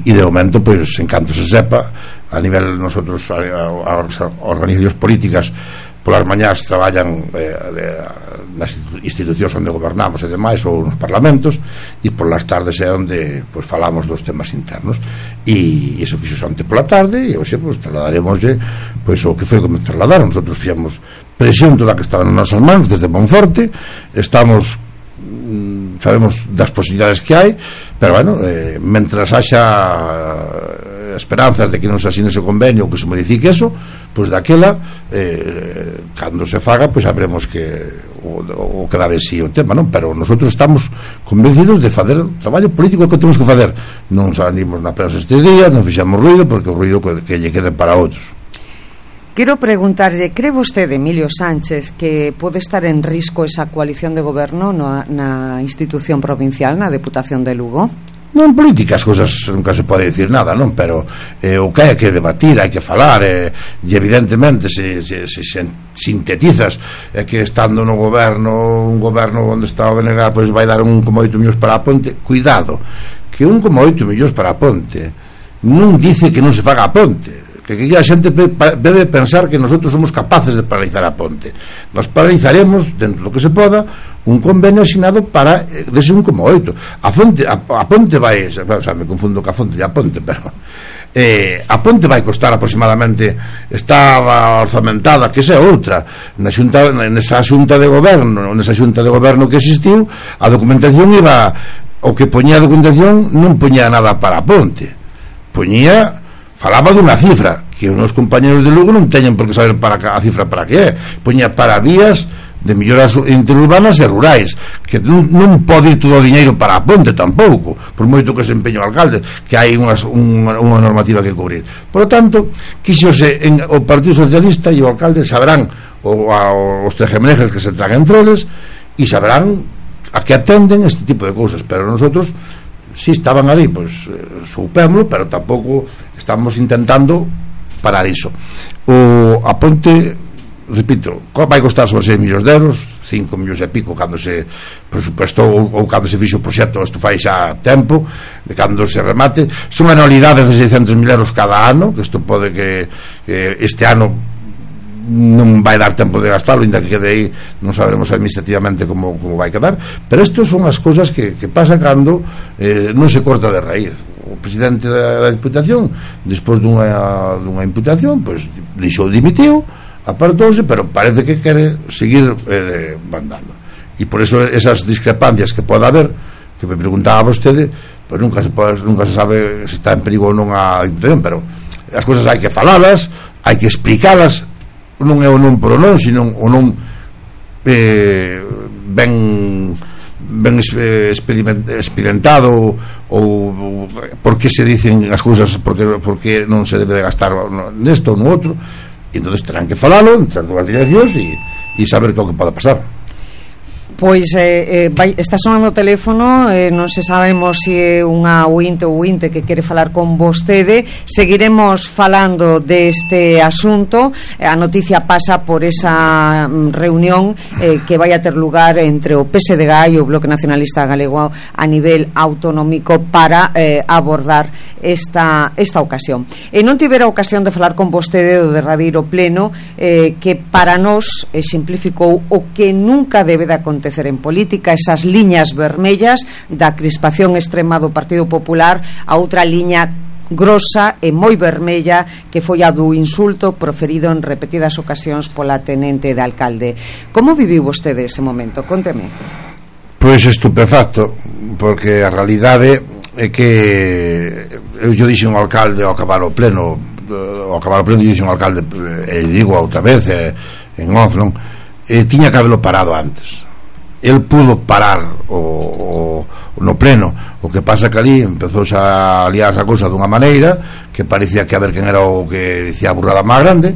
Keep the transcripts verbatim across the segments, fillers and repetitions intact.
e de momento, pois, en canto se sepa, a nivel nosotros as organizacións políticas polas mañás traballan eh, de, nas institucións onde gobernamos e demais, ou nos parlamentos, e polas tardes é onde pois, falamos dos temas internos, e iso fixo onte pola tarde, e hoxe pois, trasladaremos pois, o que foi como trasladaron. Nosotros fixemos presión toda que estaba nas nosas mans desde Monforte, estamos sabemos das posibilidades que hai, pero bueno, eh, mentras haxa esperanzas de que non se asine ese convenio ou que se modifique eso, pois daquela eh, cando se faga, pois sabremos que o, o que dá de sí o tema, non? Pero nosotros estamos convencidos de facer traballo político que temos que facer. Non salimos na prensa estes días, non fixamos ruido, porque o ruido que, que lle quede para outros. Quero preguntarlle, cree vostede, Emilio Sánchez, que pode estar en risco esa coalición de goberno na, na institución provincial, na Deputación de Lugo? Non, en política as cousas nunca se pode dicir nada, non? Pero eh, o que hai que debatir, hai que falar, eh, e evidentemente se, se, se, se sintetizas é eh, que estando no goberno, un goberno onde está o B N G, pois vai dar un coma oito millóns para a ponte. Cuidado, que un coma oito millóns para a ponte non dice que non se faga a ponte, que aquí a xente debe pensar que nosotros somos capaces de paralizar a ponte. Nos paralizaremos dentro do que se poda un convenio asinado para dese un coma oito. A fonte a, a ponte vai, o sea, me confundo ca fonte e a ponte, pero eh, a ponte vai costar aproximadamente, estaba orzamentada, que esa é outra, na xunta, nesa xunta de goberno, nesa xunta de goberno que existiu, a documentación iba, o que poñía a documentación non poñía nada para a ponte, poñía, falaba dunha cifra que os meus compañeros de Lugo non teñen por que saber para a cifra para que é, poña para vías de melloras interurbanas e rurais, que non, non pode ir todo o diñeiro para a ponte tampouco, por moito que se empeño o alcalde, que hai unhas, unha, unha normativa que cubrir. Por lo tanto, quixose en, o Partido Socialista e o alcalde saberán o, a, os tejemelejes que se tragan entre eles e saberán a que atenden este tipo de cousas, pero nosotros si estaban ali, pois eh, soupémolo, pero tampouco estamos intentando parar iso. O a ponte, repito, vai costar sobre seis millóns de euros, cinco millóns e pico cando se presupuestou ou, ou cando se fixo o proxecto, isto fai xa tempo, de cando se remate, son anualidades de seiscentos mil euros cada ano, que isto pode que, que este ano non vai dar tempo de gastarlo, ainda que quede aí non saberemos administrativamente como, como vai quedar, pero isto son as cousas que, que pasa cando eh, non se corta de raíz. O presidente da, da Diputación, despois dunha, dunha imputación, pois deixou, dimitiu, apartouse, pero parece que quere seguir eh, mandando, e por eso esas discrepancias que pode haber, que me preguntaba vostede, pois nunca se, pode, nunca se sabe se está en perigo ou non a Diputación, pero as cousas hai que falalas, hai que explicalas, non é o non por o non, sino o non eh, ben ben experimentado, ou por que se dicen as cousas, porque, porque non se debe de gastar nesto ou no outro, e entón terán que falalo entre as dúas direccións e, e saber que é o que pode pasar. Pois eh, eh, vai, está sonando o teléfono, eh, non se sabemos se é unha ointe ou ointe que quere falar con vostede. Seguiremos falando deste asunto. A noticia pasa por esa reunión eh, que vai a ter lugar entre o P S D G e o Bloque Nacionalista Galego a nivel autonómico para eh, abordar esta, esta ocasión. E non tivera ocasión de falar con vostede do derradeiro pleno eh, que para nós exemplificou o que nunca debe de acontecer en política, esas liñas vermellas da crispación extrema do Partido Popular a outra liña grosa e moi vermella que foi a do insulto proferido en repetidas ocasións pola tenente de alcalde. Como viviu vostede ese momento? Conteme. Pois estupefacto, porque a realidade é que eu yo dixen ao alcalde ao acabar o pleno, ao acabar o pleno dixen ao alcalde, e digo outra vez eh, en off, non? Eh, tiña que habelo parado antes. El pudo parar o, o no pleno, o que pasa que ali empezou a liar a cousa dunha maneira que parecía que a ver quen era o que dicía a burrada máis grande,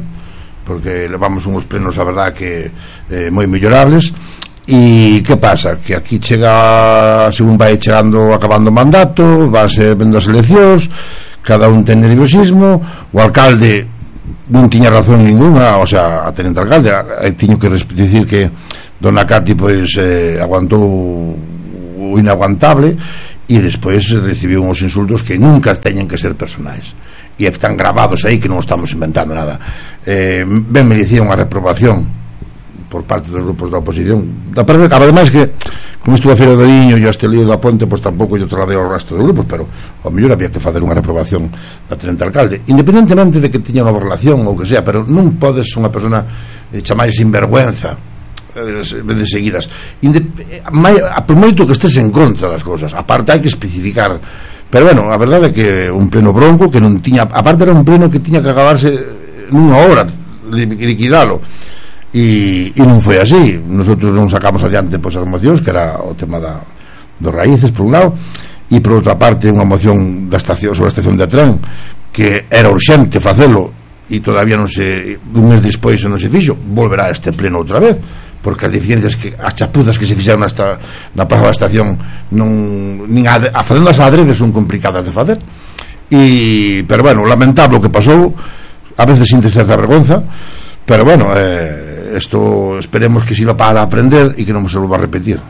porque levamos uns plenos a verdad que eh, moi mellorables. E que pasa? Que aquí chega, según vai chegando acabando o mandato, vanse vendo as eleccións, cada un ten nerviosismo, o alcalde non tiña razón ninguna, o sea, a tenente alcalde, tiño que dicir que Dona Cati pois eh, aguantou o inaguantable, e despois recibiu uns insultos que nunca teñen que ser personais, e están gravados aí, que non estamos inventando nada. eh, ben merecía unha reprobación por parte dos grupos da oposición. Da parte, ademais que como estuvo a Feira do Iño e este lío da Ponte, pois tampouco yo trasladei ao resto dos grupos, pero ao mellor había que facer unha reprobación da tenente alcalde, independentemente de que tiña unha relación ou que sea, pero non podes unha persona eh, chamar sinvergüenza de seguidas, por moito que estés en contra das cousas. Aparte hai que especificar, pero bueno, a verdade é que un pleno bronco que non tiña, aparte era un pleno que tiña que acabarse nunha hora, liquidalo, e, e non foi así. Nosotros non sacamos adiante pois as mocións, que era o tema da, dos raíces por un lado, e por outra parte unha moción da estación, sobre a estación de tren, que era urxente facelo e todavía non se, un mes despois non se fixo. Volverá a este pleno outra vez, porque as deficiencias, que as chapuzas que se fixeron nesta, na plaza da estación non, nin a, a facendo as adredes son complicadas de facer, e, pero bueno, lamentable o que pasou, a veces sin certa vergonza, pero bueno, eh, esto esperemos que sirva para aprender e que non se volva a repetir.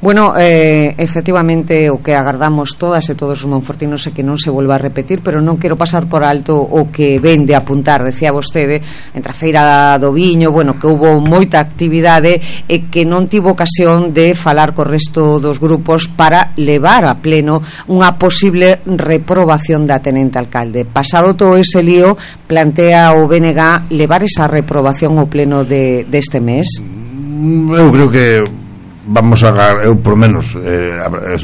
Bueno, eh, efectivamente o que agardamos todas e todos os monfortinos é que non se volva a repetir, pero non quero pasar por alto o que ven de apuntar, decía vostede, entre a Feira do Viño, bueno, que houve moita actividade e que non tivo ocasión de falar co resto dos grupos para levar a pleno unha posible reprobación da tenente alcalde. Pasado todo ese lío, plantea o B N G levar esa reprobación ao pleno de, deste mes? Eu creo que vamos a, eu por menos eh,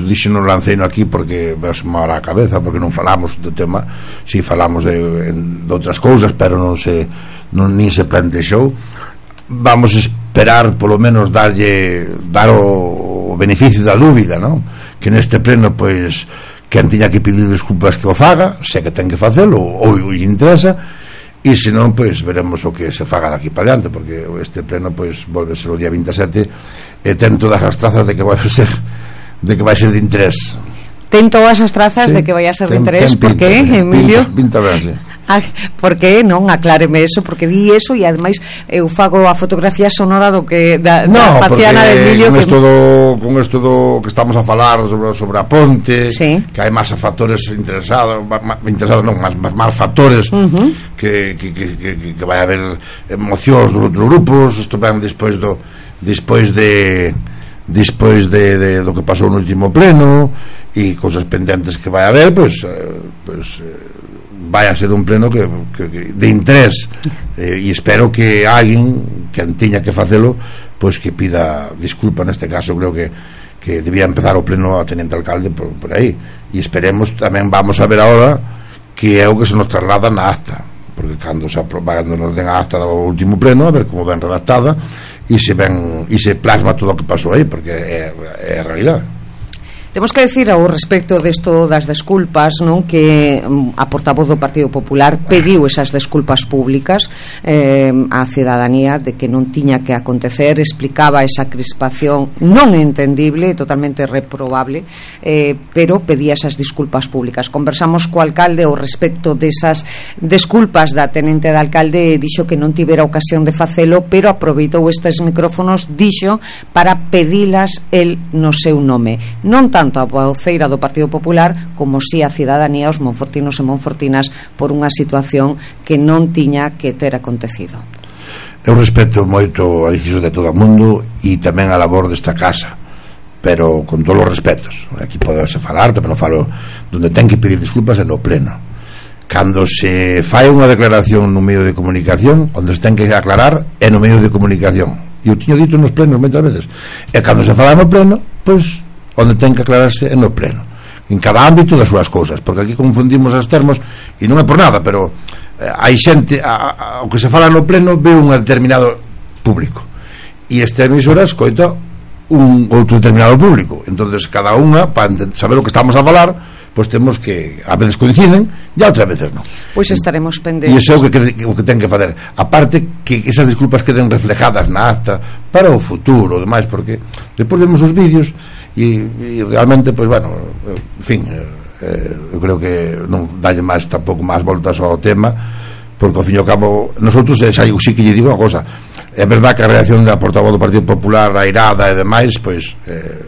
dixo non lancei no aquí porque veos mal a cabeza, porque non falamos do tema, si falamos de, de outras cousas, pero non se non nin se plantexou. Vamos a esperar polo menos darlle dar o, o beneficio da dúbida, non? Que neste pleno pois quen tiña que pedir desculpas que o faga, se que ten que facelo ou lle interesa, e se non, pois veremos o que se faga daqui para diante, porque este pleno pois volve a ser o día vinte e sete e ten todas as trazas de que vai ser de que vai ser de interés. Ten todas as trazas, sí, de que vai a ser de interés. Por que, Emilio? Pinta, pinta ben, sí. Ah, por que non? Acláreme eso, porque di eso e ademais eu fago a fotografía sonora do que da, no, da Faciana de Emilio, con que... esto do, con esto do que estamos a falar sobre, sobre a Ponte, sí, que hai máis factores interesados, interesados non, máis, máis factores, uh-huh, que, que, que, que, que vai haber emocións dos outros grupos. Isto ven despois do despois de despois de, de do que pasou no último pleno e cousas pendentes que vai haber, pois eh, pois eh, vai a ser un pleno que, que, que de interés, eh, e espero que alguén que tiña que facelo pois que pida disculpa. Neste caso creo que, que debía empezar o pleno a tenente alcalde por, por aí, e esperemos tamén, vamos a ver agora que é o que se nos traslada na acta, porque cando se aproba, cando nos den a acta do último pleno, a ver como ben redactada e se ben e se plasma todo o que pasou aí, porque é, é a realidade. Temos que decir ao respecto desto das desculpas, non, que a portavoz do Partido Popular pediu esas desculpas públicas eh, á cidadanía de que non tiña que acontecer, explicaba esa crispación non entendible, totalmente reprobable, eh, pero pedía esas disculpas públicas. Conversamos co alcalde ao respecto desas desculpas da tenente de alcalde, e dixo que non tivera ocasión de facelo, pero aproveitou estes micrófonos, dixo, para pedilas el no seu nome, non tanto a voceira do Partido Popular como si a cidadanía, os monfortinos e monfortinas, por unha situación que non tiña que ter acontecido. Eu respeto moito a decisión de todo o mundo e tamén a labor desta casa, pero con todos os respetos. Aquí podese falar, tamén non falo donde ten que pedir disculpas é no pleno. Cando se fai unha declaración no medio de comunicación, onde se ten que aclarar é no medio de comunicación, e eu tiño dito nos plenos moitas veces, e cando se fala no pleno, pois onde ten que aclararse é no pleno, en cada ámbito das súas cousas, porque aquí confundimos os termos e non é por nada, pero eh, hai xente a, a, o que se fala no pleno ve un determinado público e esta emisora escoita un outro determinado público, entonces cada unha, para saber o que estamos a falar, pois temos que, a veces coinciden e outras veces non. Pois estaremos pendentes. E iso é o que, o que ten que fazer, aparte que esas disculpas queden reflejadas na acta para o futuro, demais, porque depois vemos os vídeos e, e realmente, pois bueno, en fin, eh, eu creo que non dalle máis, tampouco máis voltas ao tema, porque ao fin e ao cabo nosotros, xa digo, sí que lle digo unha cosa, é verdad que a reacción da portavoz do Partido Popular, a irada e demais, pois eh,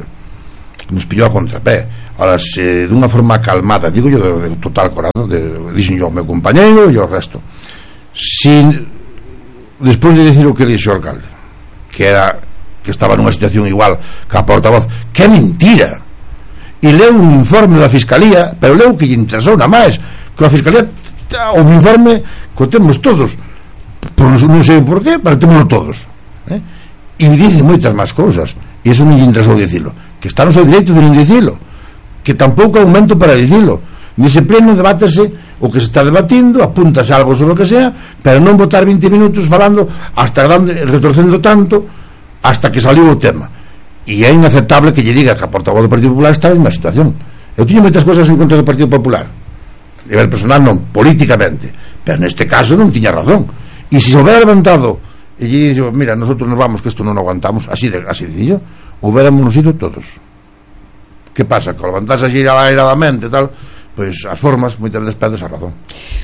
nos pillou a contrapé. Ahora, se dunha forma calmada, digo yo de, de total corazón, de, dixen yo ao meu compañeiro e ao resto, sin despois de decir o que dixo o alcalde, que era que estaba nunha situación igual que a portavoz, que é mentira, e leu un informe da Fiscalía, pero leu que lle interesou na máis, que a Fiscalía o informe que temos todos, por non sei por qué, pero temos todos, eh? E dice moitas máis cousas, e iso non lle interesou dicilo, que está no seu direito de non dicilo, que tampouco é un momento para dicilo. Nese pleno debátese o que se está debatindo, apúntase algo sobre o que sea, pero non botar vinte minutos falando hasta dando, retorcendo tanto hasta que saliu o tema. E é inaceptable que lle diga que a portavoz do Partido Popular está en unha situación. Eu tiño moitas cosas en contra do Partido Popular, a nivel personal non, políticamente, pero neste caso non tiña razón. E se se houbera levantado e lle dixo, mira, nosotros nos vamos, que isto non aguantamos, así de, así de yo, houbéramos nos ido todos. Que pasa? Que ao levantarse así airadamente tal, pois as formas moitas veces perdes a razón.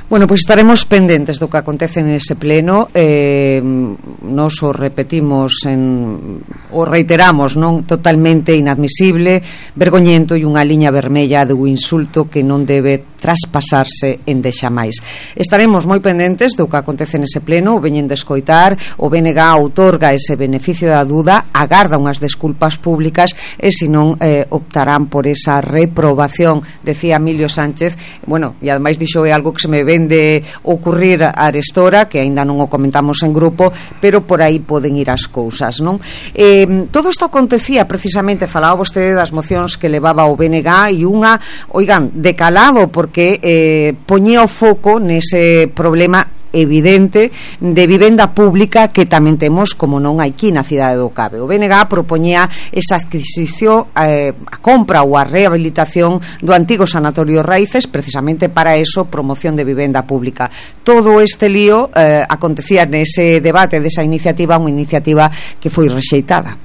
Bueno, pois estaremos pendentes do que acontece nese pleno. eh, nos o repetimos en, o reiteramos, non? Totalmente inadmisible, vergoñento e unha liña vermella do insulto que non debe traspasarse en deixamais. Estaremos moi pendentes do que acontece nese pleno. O veñen de escoitar, o B N G outorga ese beneficio da duda, agarda unhas desculpas públicas e senón eh, optarán por esa reprobación, decía Emilio Sánchez. Bueno, e ademais dixo é algo que se me vende ocurrir a arestora, que aínda non o comentamos en grupo, pero por aí poden ir as cousas, non? Eh, todo isto acontecía precisamente, falaba vostede das mocións que levaba o B N G e unha, oigan, decalado, porque eh, poñía o foco nese problema evidente de vivenda pública que tamén temos, como non aquí na cidade do Cave. O B N G propoñía esa adquisición, eh, a compra ou a rehabilitación do antigo Sanatorio Raíces, precisamente para eso, promoción de vivenda pública. Todo este lío eh, acontecía nese debate desa iniciativa, unha iniciativa que foi rexeitada.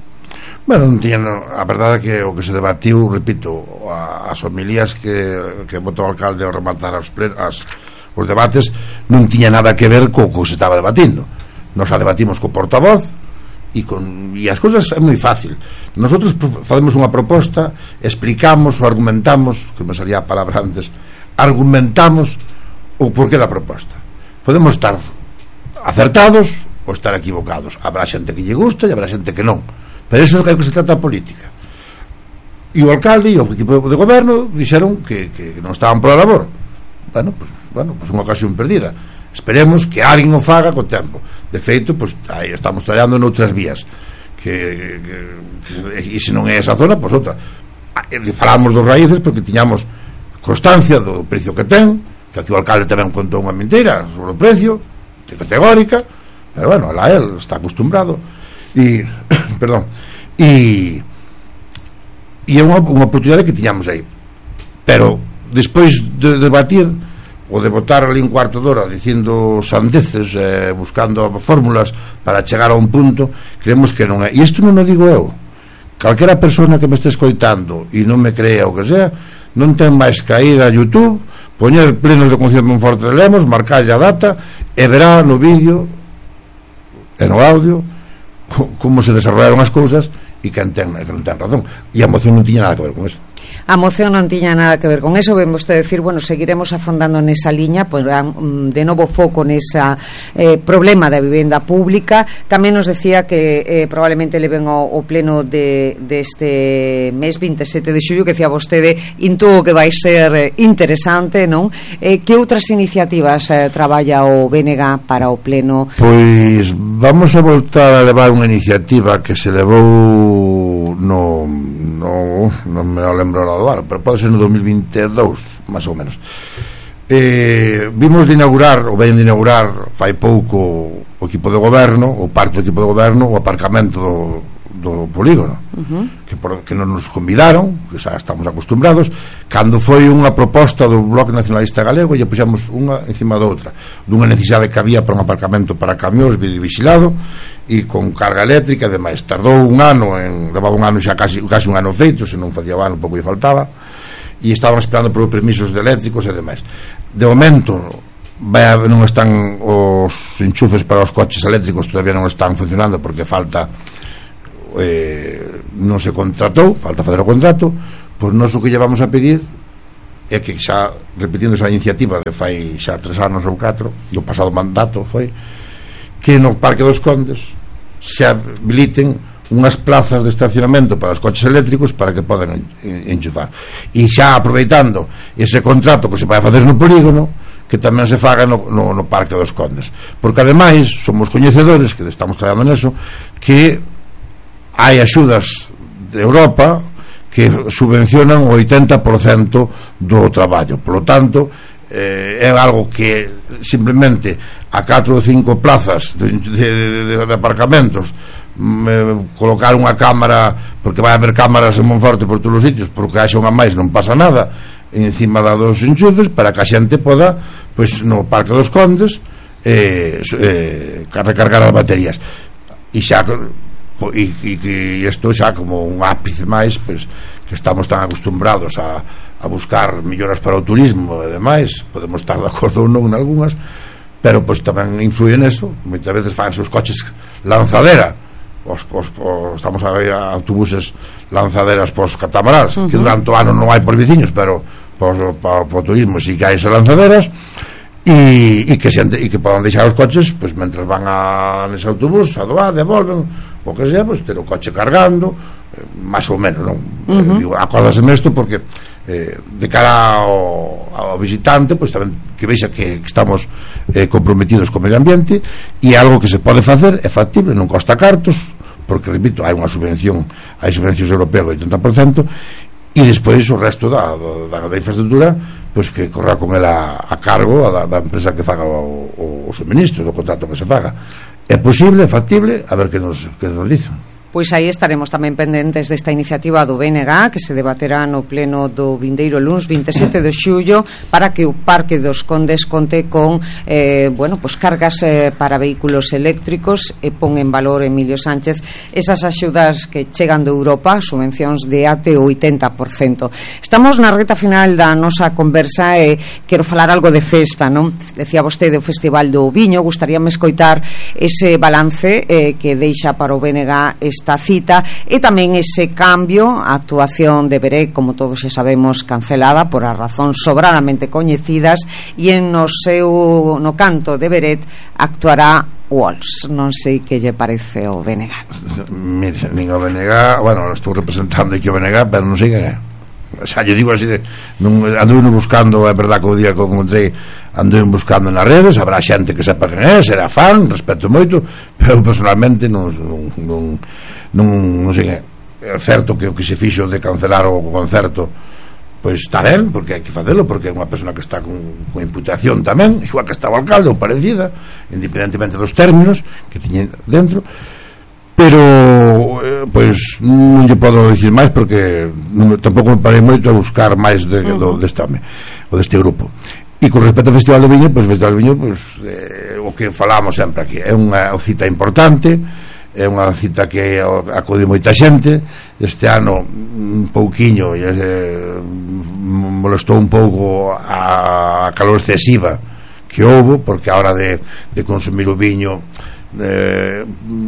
Bueno, non tiña, a verdade é que o que se debatiu, repito, as homilías que, que botou o alcalde ao rematar as, as os debates non tiña nada que ver co que se estaba debatindo. Nos a debatimos co portavoz e, con, e as cousas é moi fácil. Nosotros facemos unha proposta, explicamos ou argumentamos, que me salía a palabra antes, argumentamos o porqué da proposta. Podemos estar acertados ou estar equivocados. Habrá xente que lle gusta e habrá xente que non, pero iso é o que se trata a política. E o alcalde e o equipo de goberno dixeron que, que non estaban pola labor. Bueno, pues, bueno, pues unha ocasión perdida. Esperemos que alguén o faga co tempo. De feito, pues, aí estamos traballando noutras vías que, que, que e se non é esa zona, pois pues, outra. Falamos dos Raíces porque tiñamos constancia do precio que ten, que aquí o alcalde tamén contou unha mentira sobre o precio, de categórica, pero bueno, lá él está acostumbrado e, perdón, e e é unha, unha oportunidade que tiñamos aí. Pero despois de debatir ou de botar ali un cuarto de hora dicindo sandeces, eh, buscando fórmulas para chegar a un punto, creemos que non é. E isto non o digo eu, calquera persona que me este escoitando e non me crea o que sea, non ten máis que ir a YouTube, poñer plenos de Concepción de Monforte de Lemos, marcar a data e verá no vídeo e no audio como se desarrollaron as cousas e que non ten, que non ten razón. E a moción non tiña nada que ver con eso. A moción non tiña nada que ver con eso. Ven vostede decir, bueno, seguiremos afondando nesa liña, pues, de novo foco nesa eh, problema da vivenda pública. Tamén nos decía que eh, probablemente le ven o, o pleno de deste de mes vinte e sete de xullo, que decía vostede, intuo que vai ser eh, interesante, non? Eh, que outras iniciativas eh, traballa o B N G para o pleno? Pois vamos a voltar a levar unha iniciativa que se levou no, no non me lembro ahora do ano, pero pode ser no dos mil vinte e dous, máis ou menos. Eh, vimos de inaugurar, ou ven de inaugurar fai pouco o equipo de goberno, ou parte do equipo de goberno, o aparcamento do, do polígono, uh-huh. que, por, que non nos convidaron, que xa estamos acostumbrados. Cando foi unha proposta do Bloque Nacionalista Galego, lle puxemos unha encima da outra, dunha necesidade que había para un aparcamento para camións vigilado e con carga eléctrica e demais. Tardou un ano, en, levaba un ano xa casi, casi un ano feito, se non facía o ano pouco lle faltaba, e estaban esperando por permisos de eléctricos e demais. De momento vai, non están os enchufes para os coches eléctricos, todavía non están funcionando porque falta eh, non se contratou, falta fazer o contrato, pois nós o que lle vamos a pedir é que xa, repetindo esa iniciativa de fai xa tres anos ou catro do pasado mandato, foi que no Parque dos Condes se habiliten unhas plazas de estacionamento para os coches eléctricos para que podan enchufar, e xa aproveitando ese contrato que se vai facer no polígono, que tamén se faga no, no, no Parque dos Condes, porque ademais somos coñecedores, que estamos traballando neso, que hai axudas de Europa que subvencionan o oitenta por cento do traballo, polo tanto eh, é algo que simplemente a catro ou cinco plazas de, de, de, de aparcamentos me, colocar unha cámara, porque vai haber cámaras en Monforte por todos os sitios, porque haxa unha máis non pasa nada encima dos enchufes, para que a xente poda, pois no Parque dos Condes eh, eh, recargar as baterías, e xa e, e que isto xa como un ápice máis, pois que estamos tan acostumbrados a, a buscar melloras para o turismo e demais, podemos estar de acordo ou non en algunhas, pero pois tamén influye neso. Moitas veces fan os coches lanzadera, os, os, os, estamos a ver autobuses lanzaderas pos catamaráns, uh -huh. que durante o ano non hai por veciños, pero pos, pa, po turismo si que hai esas lanzaderas, e, e que xente, e que podan deixar os coches pois mentres van a nese autobús a doar, devolven, o que sea, pois ter o coche cargando, eh, máis ou menos, non? Uh -huh. eh, digo, acórdaseme isto porque eh, de cara ao, ao visitante, pois tamén que vexa que estamos eh, comprometidos co medio ambiente, e algo que se pode facer, é factible, non costa cartos, porque, repito, hai unha subvención, hai subvencións europeas do oitenta por cento, e despois o resto da, da, da infraestructura pois que corra con ela a cargo da, da empresa que faga o, o, o suministro do contrato que se faga. É posible, é factible, a ver que nos, que nos dicen. Pois aí estaremos tamén pendentes desta iniciativa do B N G que se debaterá no pleno do vindeiro luns vinte e sete de xullo, para que o Parque dos Condes conte con eh, bueno, pues cargas eh, para vehículos eléctricos, e pon en valor Emilio Sánchez esas axudas que chegan de Europa, subvencións de até o oitenta por cento. Estamos na reta final da nosa conversa e quero falar algo de festa, non? Decía vostede o Festival do Viño, gustaríame escoitar ese balance eh, que deixa para o B N G esta esta cita, e tamén ese cambio, a actuación de Beret, como todos xa sabemos, cancelada por as razóns sobradamente coñecidas, e en no seu no canto de Beret actuará Walls. Non sei que lle parece o B N G. Mire, nin o B N G, bueno, estou representando aquí o B N G, pero non sei que é. O sea, yo digo así de, non, ando buscando, é verdad que o día que o encontrei ando buscando nas redes, habrá xente que sepa quen é, será fan, respeto moito, pero personalmente non non, non, non, non sei que é certo que o que se fixo de cancelar o concerto pois está ben, porque hai que facelo, porque é unha persona que está con, con imputación tamén, igual que está o alcalde ou parecida, independentemente dos términos que tiñen dentro, pero eh, pois non lle podo dicir máis porque non, tampouco me parei moito a buscar máis de, uh -huh. do, deste home ou deste grupo. E con respecto ao Festival do Viño, pois o Festival do Viño, pois eh, o que falamos sempre aquí, é unha cita importante, é unha cita que acude moita xente. Este ano un pouquiño eh, molestou un pouco a, a calor excesiva que houbo, porque a hora de, de consumir o viño eh,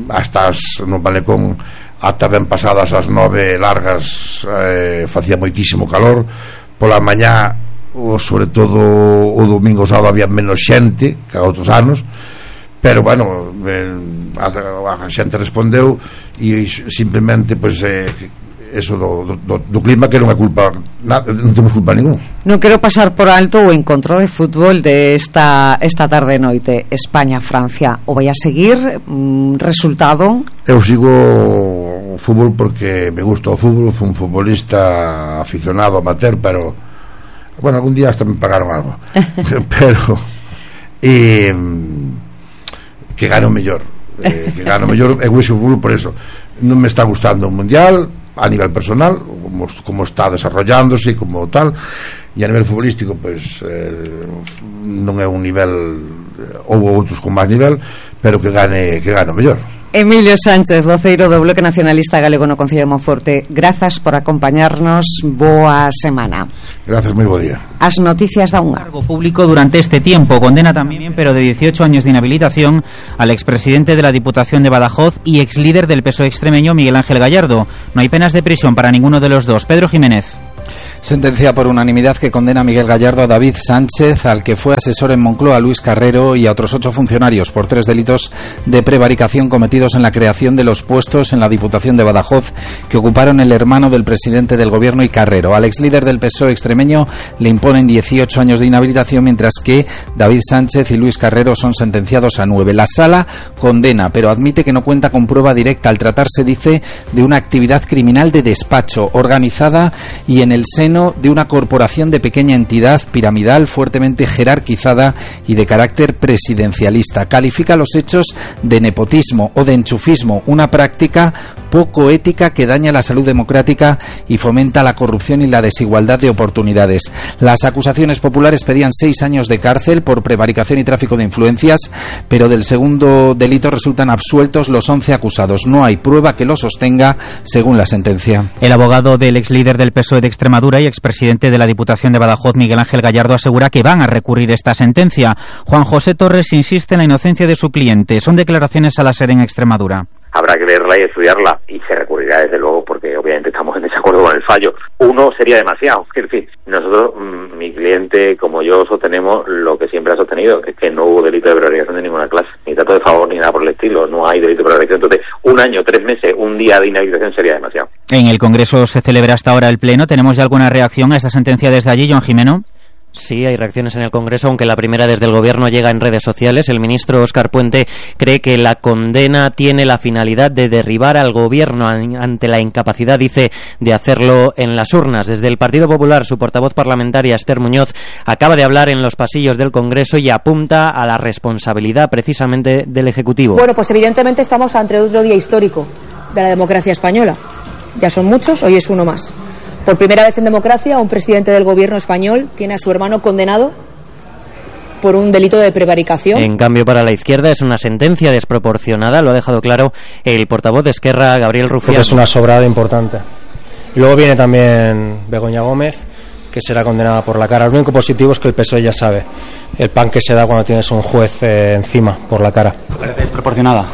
hasta as, no Balecón ata ben pasadas as nove largas eh, facía moitísimo calor. Pola mañá, o, sobre todo o domingo o sábado, había menos xente que a outros anos, pero bueno, eh, a, a xente respondeu, e simplemente pois eh, eso do, do, do clima, que non é culpa nada, non temos culpa ningún. Non quero pasar por alto o encontro de fútbol de esta, esta tarde noite, España-Francia. O vai a seguir? Mm, resultado? Eu sigo o fútbol porque me gusta o fútbol, fui un futbolista aficionado amateur, pero bueno, algún día hasta me pagaron algo pero eh, que gane o mellor, eh, que gane o mellor. Eu uso o fútbol por eso. Non me está gustando o mundial a nivel personal, como, como está desarrollándose, como tal, e a nivel futbolístico pois eh, non é un nivel houve outros con máis nivel, pero que gane que gane o mellor. Emilio Sánchez, voceiro do Bloque Nacionalista Galego no Concello de Monforte, grazas por acompañarnos, boa semana. Gracias, moi bo día. As noticias da unha. Cargo público durante este tiempo, condena también, pero de dieciocho años de inhabilitación, al expresidente de la Diputación de Badajoz y exlíder del P S O E extremeño Miguel Ángel Gallardo. No hay penas de prisión para ninguno de los dos. Pedro Jiménez. Sentencia por unanimidad que condena a Miguel Gallardo, a David Sánchez, al que fue asesor en Moncloa, Luis Carrero, y a otros ocho funcionarios por tres delitos de prevaricación cometidos en la creación de los puestos en la Diputación de Badajoz que ocuparon el hermano del presidente del gobierno y Carrero. Al exlíder del P S O E extremeño le imponen dieciocho años de inhabilitación, mientras que David Sánchez y Luis Carrero son sentenciados a nueve. La Sala condena, pero admite que no cuenta con prueba directa al tratarse, dice, de una actividad criminal de despacho organizada y en el seno de una corporación de pequeña entidad piramidal fuertemente jerarquizada y de carácter presidencialista. Califica los hechos de nepotismo o de enchufismo, una práctica poco ética que daña la salud democrática y fomenta la corrupción y la desigualdad de oportunidades. Las acusaciones populares pedían seis años de cárcel por prevaricación y tráfico de influencias, pero del segundo delito resultan absueltos los once acusados. No hay prueba que lo sostenga, según la sentencia. El abogado del exlíder del P S O E de Extremadura y expresidente de la Diputación de Badajoz, Miguel Ángel Gallardo, asegura que van a recurrir esta sentencia. Juan José Torres insiste en la inocencia de su cliente. Son declaraciones a la SER en Extremadura. Habrá que leerla y estudiarla, y se recurrirá desde luego porque obviamente estamos en desacuerdo con el fallo. Uno sería demasiado, es decir, nosotros, mi cliente como yo sostenemos lo que siempre ha sostenido, es que no hubo delito de prevaricación de ninguna clase, ni trato de favor ni nada por el estilo, no hay delito de prevaricación. Entonces, un año, tres meses, un día de inhabilitación sería demasiado. En el Congreso se celebra hasta ahora el Pleno. ¿Tenemos ya alguna reacción a esta sentencia desde allí, Joan Jimeno? Sí, hay reacciones en el Congreso, aunque la primera desde el Gobierno llega en redes sociales. El ministro Óscar Puente cree que la condena tiene la finalidad de derribar al Gobierno ante la incapacidad, dice, de hacerlo en las urnas. Desde el Partido Popular, su portavoz parlamentaria, Esther Muñoz, acaba de hablar en los pasillos del Congreso y apunta a la responsabilidad precisamente del Ejecutivo. Bueno, pues evidentemente estamos ante otro día histórico de la democracia española. Ya son muchos, hoy es uno más. Por primera vez en democracia, un presidente del gobierno español tiene a su hermano condenado por un delito de prevaricación. En cambio, para la izquierda es una sentencia desproporcionada, lo ha dejado claro el portavoz de Esquerra, Gabriel Rufián. Es una sobrada importante. Y luego viene también Begoña Gómez, que será condenada por la cara. Lo único positivo es que el P S O E ya sabe el pan que se da cuando tienes un juez eh, encima por la cara. ¿Te parece desproporcionada?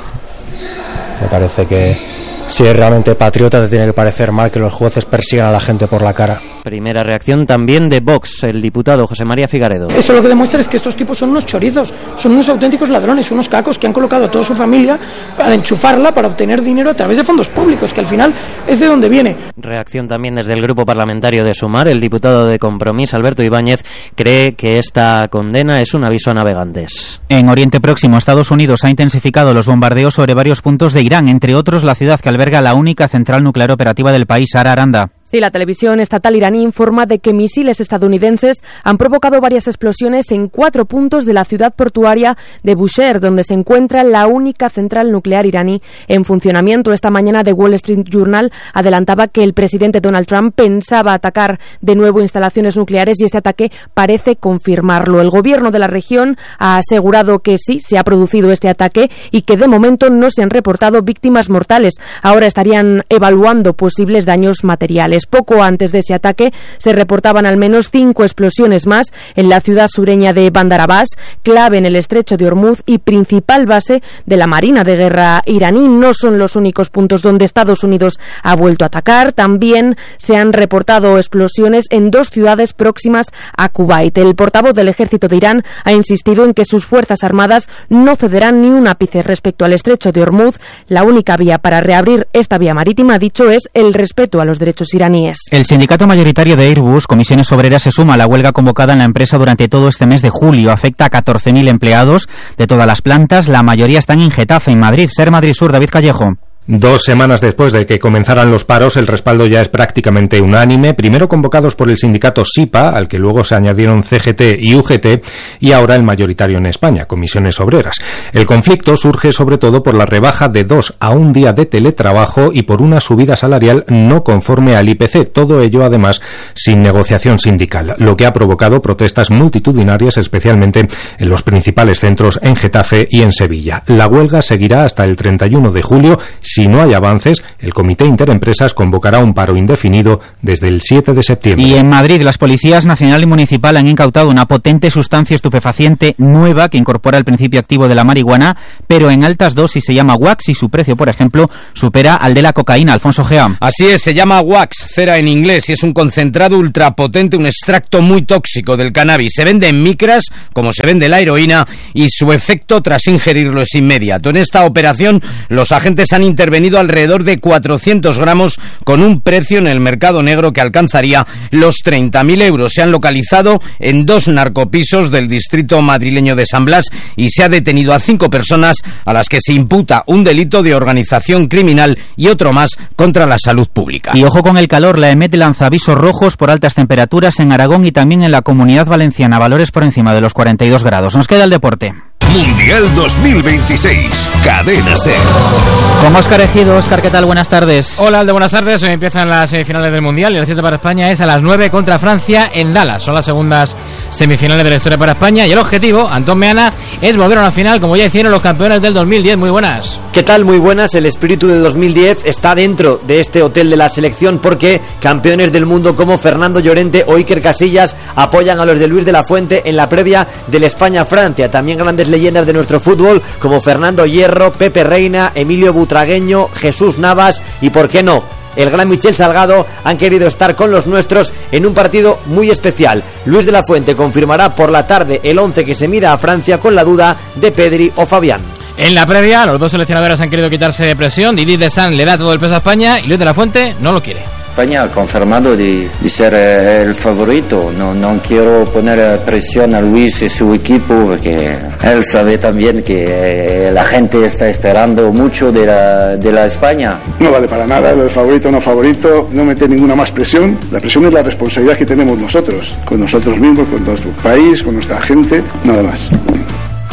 Me parece que si es realmente patriota te tiene que parecer mal que los jueces persigan a la gente por la cara. Primera reacción también de Vox, el diputado José María Figaredo. Esto lo que demuestra es que estos tipos son unos chorizos, son unos auténticos ladrones, unos cacos que han colocado a toda su familia para enchufarla, para obtener dinero a través de fondos públicos, que al final es de donde viene. Reacción también desde el grupo parlamentario de Sumar. El diputado de Compromís, Alberto Ibáñez, cree que esta condena es un aviso a navegantes. En Oriente Próximo, Estados Unidos ha intensificado los bombardeos sobre varios puntos de Irán, entre otros la ciudad que alberga la única central nuclear operativa del país. Sara Aranda. Sí, la televisión estatal iraní informa de que misiles estadounidenses han provocado varias explosiones en cuatro puntos de la ciudad portuaria de Bushehr, donde se encuentra la única central nuclear iraní en funcionamiento. Esta mañana The Wall Street Journal adelantaba que el presidente Donald Trump pensaba atacar de nuevo instalaciones nucleares y este ataque parece confirmarlo. El gobierno de la región ha asegurado que sí, se ha producido este ataque y que de momento no se han reportado víctimas mortales. Ahora estarían evaluando posibles daños materiales. Poco antes de ese ataque se reportaban al menos cinco explosiones más en la ciudad sureña de Bandar Abbas, clave en el estrecho de Hormuz y principal base de la Marina de Guerra iraní. No son los únicos puntos donde Estados Unidos ha vuelto a atacar. También se han reportado explosiones en dos ciudades próximas a Kuwait. El portavoz del ejército de Irán ha insistido en que sus fuerzas armadas no cederán ni un ápice respecto al estrecho de Hormuz. La única vía para reabrir esta vía marítima, ha dicho, es el respeto a los derechos iraníes. El sindicato mayoritario de Airbus, Comisiones Obreras, se suma a la huelga convocada en la empresa durante todo este mes de julio. Afecta a catorce mil empleados de todas las plantas. La mayoría están en Getafe, en Madrid. Ser Madrid Sur, David Callejo. Dos semanas después de que comenzaran los paros, el respaldo ya es prácticamente unánime, primero convocados por el sindicato SIPA, al que luego se añadieron C G T y U G T, y ahora el mayoritario en España, Comisiones Obreras. El conflicto surge sobre todo por la rebaja de dos a un día de teletrabajo y por una subida salarial no conforme al I P C, todo ello además sin negociación sindical, lo que ha provocado protestas multitudinarias, especialmente en los principales centros en Getafe y en Sevilla. La huelga seguirá hasta el treinta y uno de julio. Si no hay avances, el Comité Interempresas convocará un paro indefinido desde el siete de septiembre. Y en Madrid, las policías nacional y municipal han incautado una potente sustancia estupefaciente nueva que incorpora el principio activo de la marihuana, pero en altas dosis. Se llama wax y su precio, por ejemplo, supera al de la cocaína. Alfonso Gea. Así es, se llama wax, cera en inglés, y es un concentrado ultrapotente, un extracto muy tóxico del cannabis. Se vende en micras, como se vende la heroína, y su efecto tras ingerirlo es inmediato. En esta operación, los agentes han intervenido intervenido alrededor de cuatrocientos gramos con un precio en el mercado negro que alcanzaría los treinta mil euros. Se han localizado en dos narcopisos del distrito madrileño de San Blas y se ha detenido a cinco personas a las que se imputa un delito de organización criminal y otro más contra la salud pública. Y ojo con el calor, la EMET lanza avisos rojos por altas temperaturas en Aragón y también en la Comunidad Valenciana, valores por encima de los cuarenta y dos grados. Nos queda el deporte. Mundial dos mil veintiséis, Cadena SER. Con Óscar Ejido. Óscar, ¿qué tal? Buenas tardes. Hola, Alde, buenas tardes. Hoy empiezan las semifinales del Mundial y el cierre para España es a las nueve contra Francia en Dallas. Son las segundas semifinales de la historia para España y el objetivo, Antón Meana, es volver a la final como ya hicieron los campeones del dos mil diez. Muy buenas. ¿Qué tal? Muy buenas. El espíritu del dos mil diez está dentro de este hotel de la selección porque campeones del mundo como Fernando Llorente o Iker Casillas apoyan a los de Luis de la Fuente en la previa del España-Francia. También grandes leyendas de nuestro fútbol como Fernando Hierro, Pepe Reina, Emilio Butragueño, Jesús Navas y, ¿por qué no?, el gran Michel Salgado han querido estar con los nuestros en un partido muy especial. Luis de la Fuente confirmará por la tarde el once que se mida a Francia con la duda de Pedri o Fabián. En la previa, los dos seleccionadores han querido quitarse de presión. Didier Deschamps le da todo el peso a España y Luis de la Fuente no lo quiere. España ha confirmado de, de ser eh, el favorito. No, no quiero poner presión a Luis y su equipo porque él sabe también que eh, la gente está esperando mucho de la, de la España. No vale para nada, el favorito o no favorito, no meter ninguna más presión. La presión es la responsabilidad que tenemos nosotros, con nosotros mismos, con nuestro país, con nuestra gente, nada más.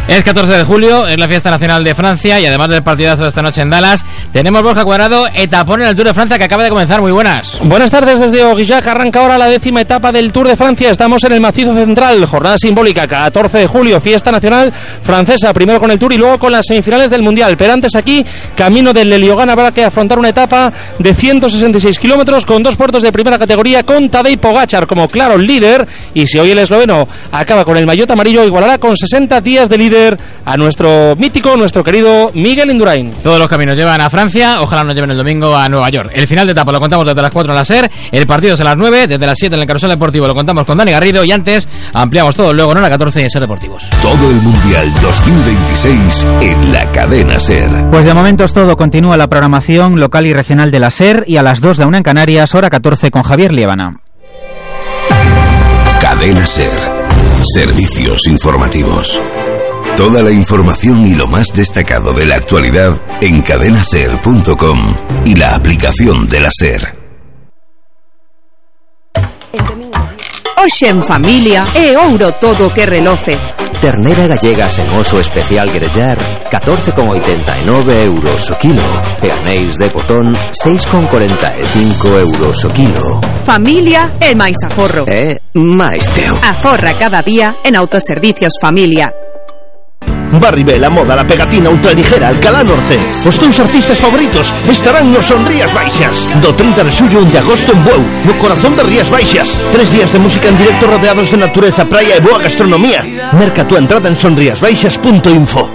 Es catorce de julio, es la fiesta nacional de Francia y además del partidazo de esta noche en Dallas, tenemos Borja Cuadrado, etapón en el Tour de Francia que acaba de comenzar. Muy buenas. Buenas tardes desde Aurillac, arranca ahora la décima etapa del Tour de Francia. Estamos en el macizo central, jornada simbólica, catorce de julio, fiesta nacional francesa, primero con el Tour y luego con las semifinales del Mundial. Pero antes aquí, camino del Leliogán, habrá que afrontar una etapa de ciento sesenta y seis kilómetros con dos puertos de primera categoría, con Tadej Pogačar como claro líder, y si hoy el esloveno acaba con el maillot amarillo, igualará con sesenta días de líder a nuestro mítico, nuestro querido Miguel Indurain. Todos los caminos llevan a Francia, ojalá nos lleven el domingo a Nueva York. El final de etapa lo contamos desde las cuatro en la SER, el partido es a las nueve, desde las siete en el Carrusel Deportivo lo contamos con Dani Garrido y antes ampliamos todo luego en la catorce en SER Deportivos. Todo el Mundial dos mil veintiséis en la Cadena SER. Pues de momento es todo, continúa la programación local y regional de la SER y a las dos la una en Canarias, hora catorce con Javier Liébana. Cadena SER, servicios informativos. Toda la información y lo más destacado de la actualidad en cadena ser punto com y la aplicación de la SER. Hoxe en familia e ouro todo que reloce. Ternera gallega sen oso especial grellar, catorce con oitenta e nove euros o kilo. E anéis de botón, seis con corenta e cinco euros o kilo. Familia e máis aforro. E máis teo. Aforra cada día en Autoservicios Familia. Barribé, la moda, la pegatina ultraligera, Alcalá Norte. Os teus artistas favoritos estarán nos Son Rías Baixas do trinta de xullo de agosto en Bueu, no corazón de Rías Baixas. Tres días de música en directo rodeados de natureza, praia e boa gastronomía. Merca tu entrada en sonriasbaixas punto info.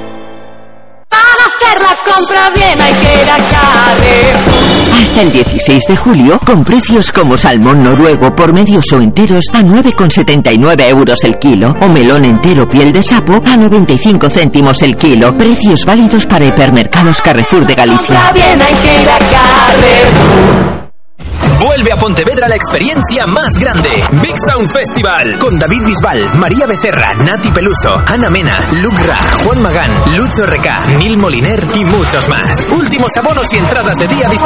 Para hacer la compra bien hay que ir a Carrefour. Hasta el dieciséis de julio, con precios como salmón noruego por medios o enteros a nueve con setenta y nueve euros el kilo, o melón entero piel de sapo a noventa y cinco céntimos el kilo. Precios válidos para hipermercados Carrefour de Galicia. Compra bien hay que ir a Carrefour. Vuelve a Pontevedra la experiencia más grande. Big Sound Festival. Con David Bisbal, María Becerra, Nati Peluso, Ana Mena, Luke Ra, Juan Magán, Lucho R K, Nil Moliner y muchos más. Últimos abonos y entradas de día disponibles